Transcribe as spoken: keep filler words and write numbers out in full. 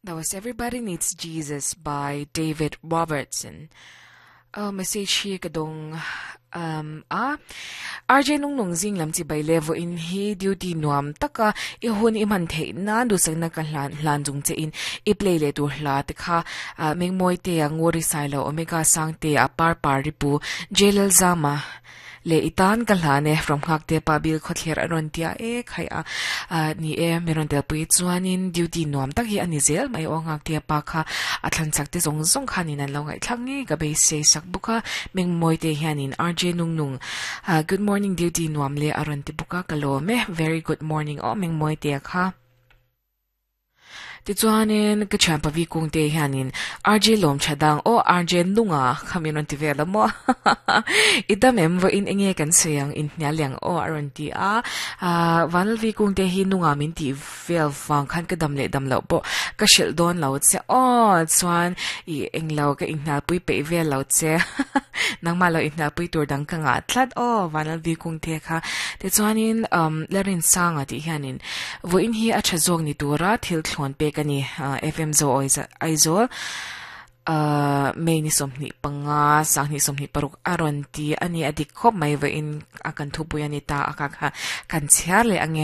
That was Everybody Needs Jesus by David Robertson. Uh, message hi ka dong um, a R J nung nung zing lam chi bai levo in hi duty nuam taka i hun i man thei na du sang na ka hlan hlan jung che in i play le tu hla te kha uh, meng moi te a ngori sai lo omega sang te a par par ripu jelal zama le itan ka hlane from khak te pa bil khothler aron tia e khai a ni e meron tel pui chuanin duty nuam tak hi ani zel mai o ngak te pa kha a thlan chak te zong zong khanin an lo ngai thlangi ka be se sak buka meng moi te hianin R J nung nung, good morning, duty nuam le aron ti buka kalome. Very good morning o meng moi te kha. Ti chuanin ka thian pavi kung te hianin R J lom chadang o R J nunga khamin ti vela mo idam em vo in enge kan seyang in hnya o aron ti a vanal vi kung te hi nunga min ti vel wang khan ka dam le dam lo po ka shil don lo che o chuan i englo ka in hna pui pe vel lo che nang ma lo in hna pui tur dang ka nga thlat o vanal vi kung te kha. Ti chuanin um lerin sanga ti hianin vo in hi a thazong ni tura thil thlon pe kani F M zo Aizawl uh, May ni somni panga sang ni somni paruk aron ti ani adik khop mai va in akan thu pui ani ta aka kha kan chhiar le ange.